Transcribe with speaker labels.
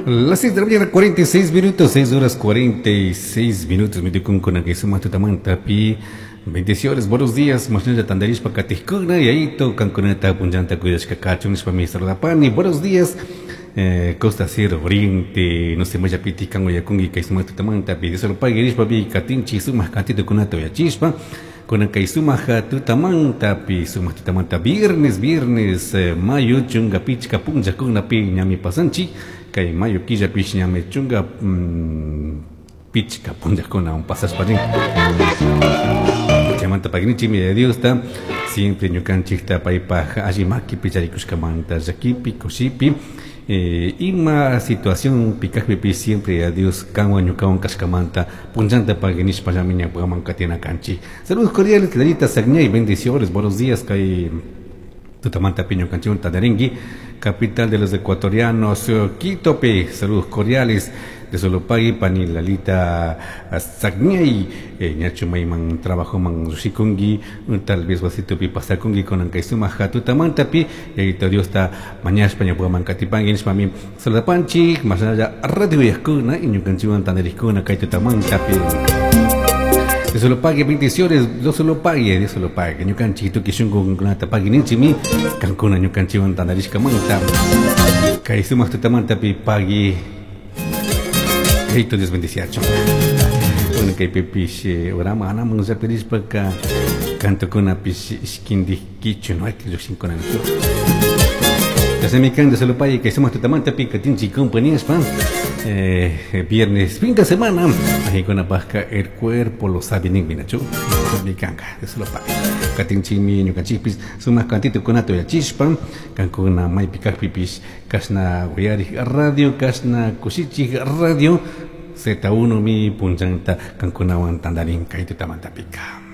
Speaker 1: Las 6 de la mañana, 46 minutos, 6 horas 46 minutos. Mi tukunkuna kay sumak tutamantapi. Bendiciones, buenos días. Mashnalla tandarishpa katijkuna, Yayito, kankunata punllanta cuidashka kachun nishpa mi saludapani. Buenos días. Costa Sierra Oriente, no sé, mayapiti kan uyakunki kay sumak tutamantapi. Dios lo pague nishpa pi katinchi sumak kantitukunata uyachishpa. Kunan kay sumak tutamantapi, sumak tutamanta viernes, viernes, mayo chunka pichka punllakunapi ñami pasanchik. Kay mayo killapish ñami chunka pichka punllakunawan pasashpa rin. Chaymanta pagnichimi de Diosta, siempre ñukanchikta paypaj alli makipi charikushkamanta llakipi, kushipi, ima situación pikajpipish siempre a Dios kanwan ñukawan kashkamanta punllanta paginishpallami ñawpaman katina kanchik. Saludos cordiales, Clarita Sagñay, bendiciones, buenos días, kay tutamanta piño canchón Tadaringui, capital de los ecuatorianos, Quito, saludos cordiales de Solopagui, pani Lalita Sagñay, ñacho mayman trabajo man rushikungi, tal vez wasitupi pasakungi con ankaisuma jatutamantapi, y Dios está mañashpa ñawpaman katipangui, nishpami saludapanchik, más allá radio yaskuna, y ñukanchiwan tanariskuna kay tutamantapi. Dios lo pague, bendiciones, Dios lo pague, Dios lo pague. Ñukanchik tuki shunku kunata pague ninchimi, kankuna ñukanchiwan tandarishka manta. Kay sumak tutamantapi pague. Eito Dios bendiciacho. Bueno, kay pipish, orama anaman zapirishpa ka kantukuna pish ishkindik kichu, no hay que llukshinkuna nichu. Tasemikan de solo pague, kay sumak tutamantapi katinchi compañías pan. Viernes, fin de semana, ahí con la pasca, el cuerpo lo sabe, ni minachu, mi canga, de solo pague. Katinchimi, ñukanchikpis, sumak kantito kunato ya chispan, kankuna maypi kajpipis, kashna uyari radio, kashna kushichik radio, Z1 mi punchanta kankunawan tandarin kay tutamantapika.